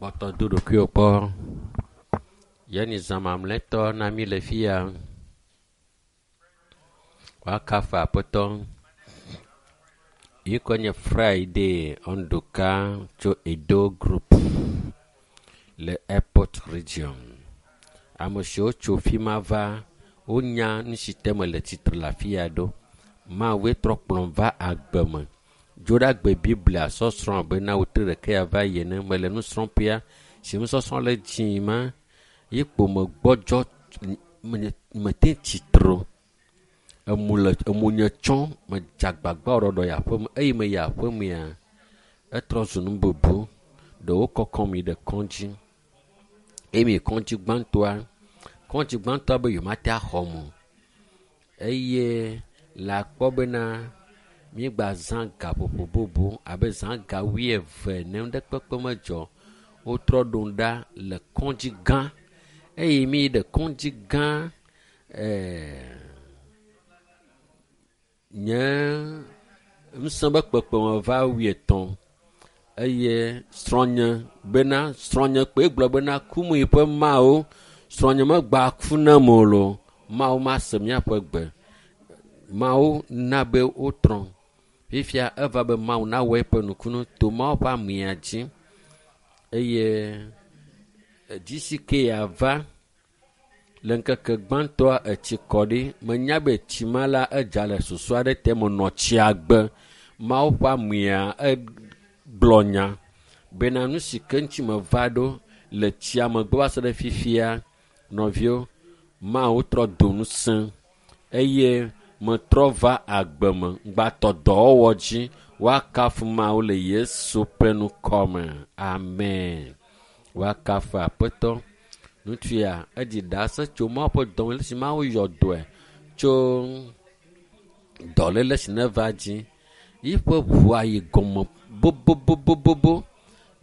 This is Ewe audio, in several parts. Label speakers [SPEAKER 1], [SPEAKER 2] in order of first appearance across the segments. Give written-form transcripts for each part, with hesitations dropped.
[SPEAKER 1] Kpɔtɔ do ɖokuiwò kpɔ. Ye nyi zã mamlɛtɔ na mí le fi ya. Woakafu Aƒetɔ. Yi kɔ nye Friday Ondoka tso Edo Group le Airport Region. Ame siwo tso fi ma va, wonya nu si te mele tsitre le afi ya ɖo. Mawue trɔ kplɔm va agbe me. Dzoɖagbe Biblia sɔsrɔ̃ abe na wòtre ɖeke ya va yi ene. Mele nusrɔ̃ƒea si nusɔsrɔ̃ le dzi ma ye kpo megbɔdzɔ mete tsitre o. Emu le emu nye tsɔ medze agbagba ɖɔɖɔ yi aƒeme eye meyi aƒemea etrɔ zu nu bubu. Ɖewo kɔkɔm yi ɖe kɔdzi eye meyi kɔdzi gbãtɔa, kɔdzi gbãtɔa be yewomate axɔm o eye le akpɔ bena míegbazã gaƒoƒo bubu abe zã ga wuieve ene ŋɖekpekpe medzɔ. Wotrɔ ɖom ɖa le kɔdzi gã eye míyi ɖe kɔdzi gã nye ŋusẽ be kpekpeme va wuietɔ̃ eye srɔ̃nye bena srɔ̃nye kpoe gblɔ bena kum yi ƒe Mawu srɔ̃nye megba ku nam o loo Mawu mase míaƒe gbe. Mawu na be wotrɔ. Fifia eva be Mawu nawɔ eƒe nukunu to Mawu ƒe amea dzi eye GCK ava le ŋkeke gbãtɔa etsi kɔ ɖi. Menya be tsi ma la edza le susu aɖe te menɔ tsia gbe. Mawu ƒe amea egblɔ nya bena nu si ke ŋuti meva ɖo le tsia megbe va se ɖe fifia nɔviwo Mawu trɔ do ŋusẽ eye metrɔ va agbe me ŋgbatɔ dɔwɔwɔ dzi woakafu Mawu le Yesu ƒe ŋkɔ me. Amen. Woakafu Aƒetɔ. Ŋutsu ya edzi ɖase tso Mawu ƒe dɔme le si Mawu yɔ dɔe tso dɔléle si neva dzi. Yiƒe ʋua yi gɔme bobobobobo.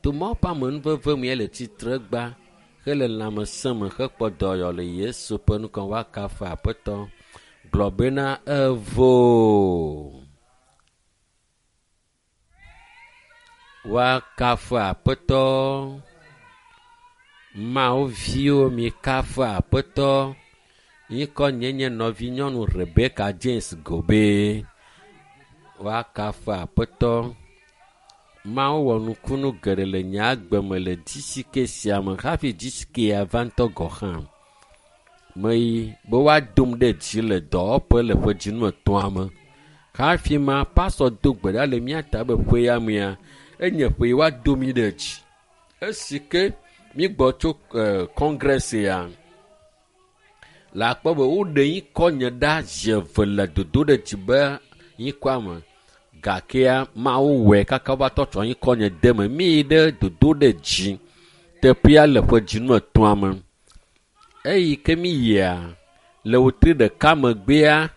[SPEAKER 1] To Mawu ƒe amenuveve me le tsitre gba hele lãmesẽ me hekpɔ dɔyɔ le Yesu ƒe ŋkɔ woakafu Aƒetɔ. Gblɔ bena evo. Woakafu Aƒetɔ. Mawu viwo mikafu Aƒetɔ. Ŋkɔ nye nye nɔvinyɔnu Rebecca James Gobe. Woakafu Aƒetɔ. Mawu wɔ nukunu geɖe le nye agbe me le GCK sia me hafi GCK ya va ŋutɔ gɔ̃ hã. Meyi be woadom ɖe dzi le dɔwɔƒe le ƒe dzinu etɔ̃a me. Hafi ma pastor do gbe ɖa le mía ta be ƒe ya mea enye ƒe yi woado mí ɖe dzi. Esi ke mígbɔ tso congress ya le akpɔ be woɖe ŋkɔ nye ɖa zi eve le dodo ɖe dzi be ŋkɔa me. Gakea Mawu wɔe kaka wova tɔ tsɔ ŋkɔ nye de me. Míyi ɖe dodo ɖe dzi teƒea le ƒe dzinu etɔ̃a me. Eyi ke míyia le wòtri ɖeka megbea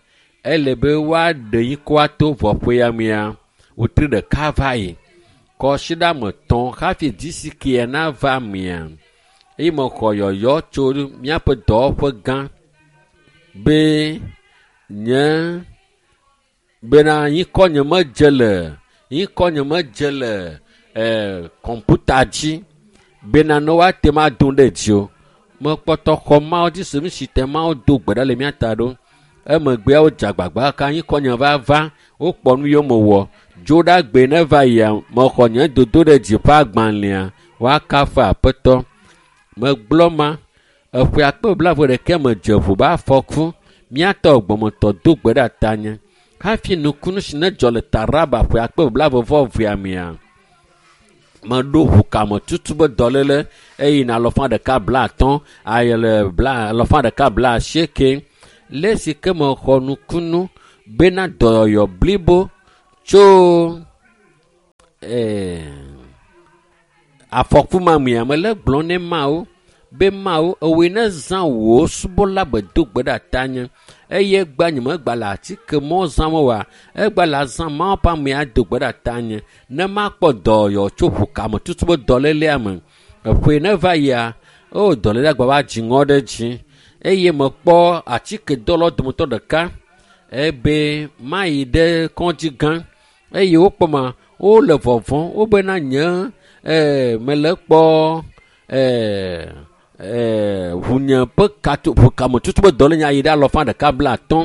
[SPEAKER 1] ele be woaɖe ŋkɔa to vɔ ƒe ya mea wòtri ɖeka va yi. Kɔsiɖame tɔ̃ hafi GCK nava mea eye mexɔ yɔyɔ tso míaƒe dɔwɔƒe gã be nye bena ŋkɔ nye medze le ŋkɔ nye medze le kɔmputa dzi bena ne woate ŋu adom ɖe dzi o. Mekpɔtɔ xɔ Mawu dzi se nu si te Mawu do gbe ɖa le mía ta ɖo. Emegbea wodze agbagba ka ŋkɔ nye va va wokpɔ nu yiwo mewɔ. Dzoɖagbe ne va yia mexɔ nye dodo ɖe dzi ƒe agbalẽa woakafu Aƒetɔ. Megblɔ ma eƒe akpe blaeve ɖeke medze ʋu be afɔku. Míatɔ gbɔmetɔ do gbe ɖe tanye. Hafi nukunu si ne dzɔ le Taraba ƒe akpe blaeve vɔ evea mea meɖo ʋukame tutu be dɔléle eye na alɔfa ɖeka bla atɔ̃ ayele bla alɔfa ɖeka bla asieke. Le esi ke mexɔ nukunu bena dɔyɔyɔ blibo tso afɔku ma mea mele gblɔm ne Mawu be Mawu ewòe ne zã wò subɔla be do gbe ɖe tanye eye egba nye megba le atike mɔ zãm oa egba le azã Mawu ƒe amea do gbe ɖe tanye ne makpɔ dɔyɔ tso ʋukame tutu be dɔlélea me. Eƒe ne va yia o dɔlélea gba va dziŋɔ ɖe dzi eye mekpɔ atike dɔlawo dometɔ ɖeka ebe mayi ɖe kɔdzi gã eye wokpɔ ma wole vɔvɔ̃m wobena nye mele kpɔ Ʋunye ƒe kato ʋukametutu ƒe dɔlénya yi ɖe alɔfa ɖeka bla atɔ̃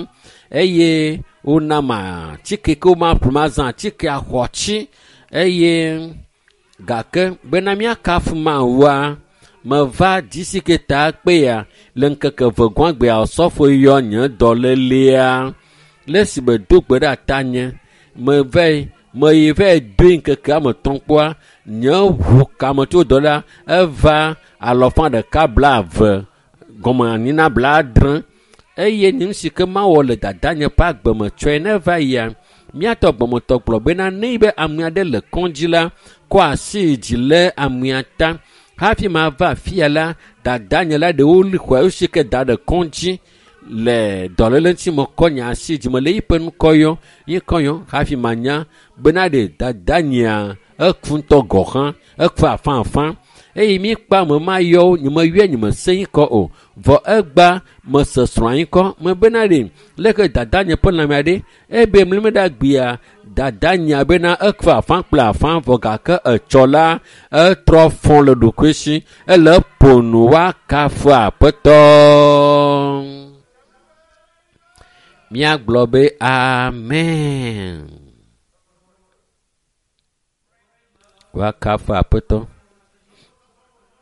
[SPEAKER 1] eye wonam atike ke womaƒle mazã atikea xɔ tsi eye gake bena míakafu Mawua, meva dzisi ta kpea le ŋkeke eve gɔ̃gbea osɔfo yɔ nye dɔlélea le esi medo gbe ɖe atanye meva meyi va doe ŋkeke ame etɔ̃ kpɔa nye ʋu kametso dɔ la eva alɔfa ɖeka bla eve gɔme anyi na bla adre eye nu si ke mawɔ le dadanye ƒe agbe me tsɔe ne va yia míatɔ gbɔmetɔ gblɔ bena ne be ame aɖe le kɔdzi la kɔ asi dzi le amea ta hafi mava afia la dadanye la ɖewo li xɔa si ke da ɖe kɔdzi le dɔléle ŋuti mekɔ nye asi dzi mele yiƒe ŋkɔ yɔ yi kɔ yɔ hafi manya bena ɖe dadanyea eku ŋutɔ gɔ hã eku afãafã eye míkpa ame ma yɔ nye meyɔe nye mese yi kɔ o vɔ egba mese srɔ̃a yi kɔ mebena ɖe leke dadanye ƒe lãmea ɖe ebe mlime ɖe agbea dadanya bena eku afã kple afã vɔ gake etsɔ la etrɔ fɔ le ɖokui si ele ƒo nu woakafu aƒetɔ. Míagblɔ be amen. Woakafu aƒetɔ.